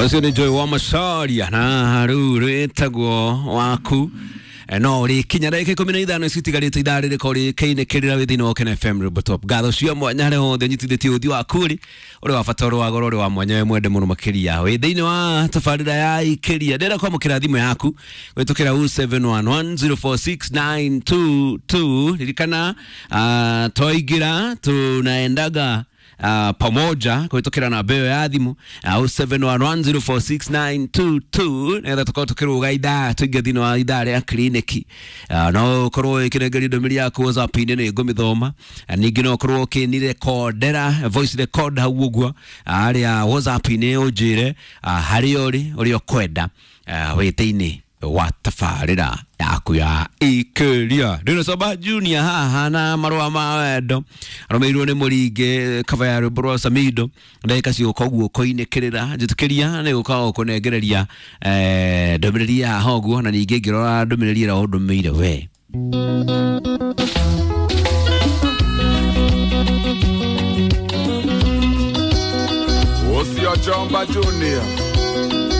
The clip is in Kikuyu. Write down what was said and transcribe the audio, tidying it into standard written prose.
Ũcio nĩ Joy wa Macharia na rĩu rwĩtagwo waku. No rĩkinya ndagĩka 15 citigarĩte ithaa rĩrĩko rĩkĩinĩkĩrĩra wĩ thĩinĩ wa Ũkena FM Rwĩmbo Top. Ngatho cia mwanya harĩa hothe ũnyitithĩtie ũthiũ waku rĩ ũrĩ wa bata, ũrĩ wa goro, ũrĩ wa mwanya, wĩ mwende mũno makĩria wĩ thĩinĩ wa tabarĩra ya ikĩria. Ndĩrenda kwamũkĩra thimũ yaku gwĩtũkĩra 0711046922. Ririkana, twaingĩra tunaendaga pamoja kũhĩtũkĩra namba ĩyo ya thimũ 0711046922 nĩgetha tũkorwo tũkĩrũga ithaa tũingĩ thĩinĩ wa ithaa rĩa kliniki. No ũkorwo ĩkĩnengeria ndũmĩrĩri yaku WhatsApp-inĩ, nĩ ngũmĩthoma. Ningĩ no ũkorwo ũkĩnirekondera voice record hau ũguo harĩa WhatsApp-inĩ, ũnjĩre harĩa ũrĩ, ũrĩa ũkwenda, wĩ thĩinĩ wa tabarĩra yaku ya ikĩria. Ndĩna Soba Junior haha na marũa ma wendo arũmĩrĩirwo nĩ mũringĩ kaba ya rwĩmbo rwa Samido. Ndagĩka cigũka ũguo kũinĩkĩrĩra, njĩtĩkĩria nĩ gũka kũnengereria ndũmĩrĩri ya haha ũguo, na ningĩ ngĩrora ndũmĩrĩri ĩrĩa ũndũmĩire we. Ũcio Jomba Junior.